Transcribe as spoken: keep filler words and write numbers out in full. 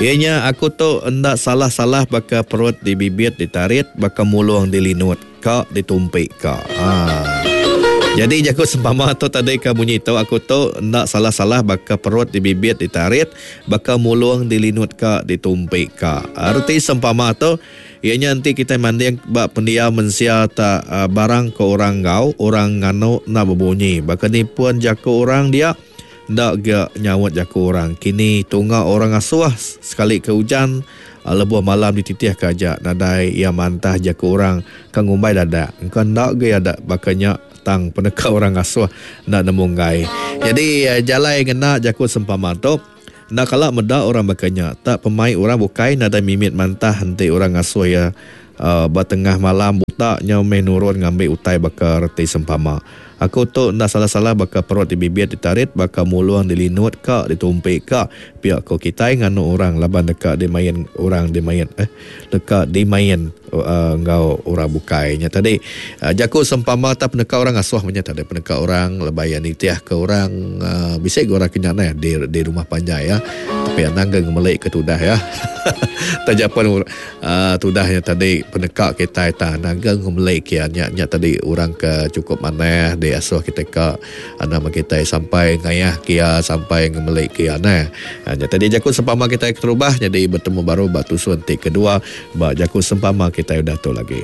Iya nya aku tu enda salah-salah baka perut dibibit ditarit baka mulung dilinut ka ditumpi ka. Haa. Nyadi jaku sempama tu tadi ka munyi tu aku tu enda salah-salah baka perut dibibit ditarit baka mulung dilinut ka ditumpi ka. Reti sempama tu iya nya enti kitai manding ba pendiau mensia ta barang ko orang enggau orang nganu enda bebunyi baka ni pun jaku orang dia enda ga nyaut jaku orang kini tunga orang asuh sekali ke ujan lebuh malam dititih ka aja nadai iya mantah jaku orang ka ngumbai dadak engka enda ga iya baka nya. Tang peneka orang ngasuh enda nemu enggai. Nyadi jalai ngena jaku sempama tu, enda kala meda orang baka nya. Tak pemai orang bukai nadai mimit mantah enti orang ngasuh iya ba tengah malam buta nyau meh nurun ngambi utai baka reti sempama. Aku tu enda salah-salah baka perut dibibit ditarit baka mulung dilinut ka ditumpi ka pia ko kitai nganu orang laban deka dimain orang dimain eh deka dimain. Enggau orang bukai nya tadi. Jaku sempama tau peneka orang ngasuh meh nya tadi peneka orang lebai iya nitihka orang bisi ga orang ke nya neh di di rumah panjai iya. Tapi anang ga ngemeli ke tudah iya. Taja pen uhh tudah nya tadi peneka kitai tang anang ga ngemeli ke iya nya nya tadi orang ke chukup manah diasuh kitai ka anang meh kitai sampai ngayah ke iya sampai ngemeli ke iya neh. Nya tadi jaku sempama kitai keterubah nyadi betemu baru ba tusun ti kedua. Ba jaku sempama kitai udah tu lagi.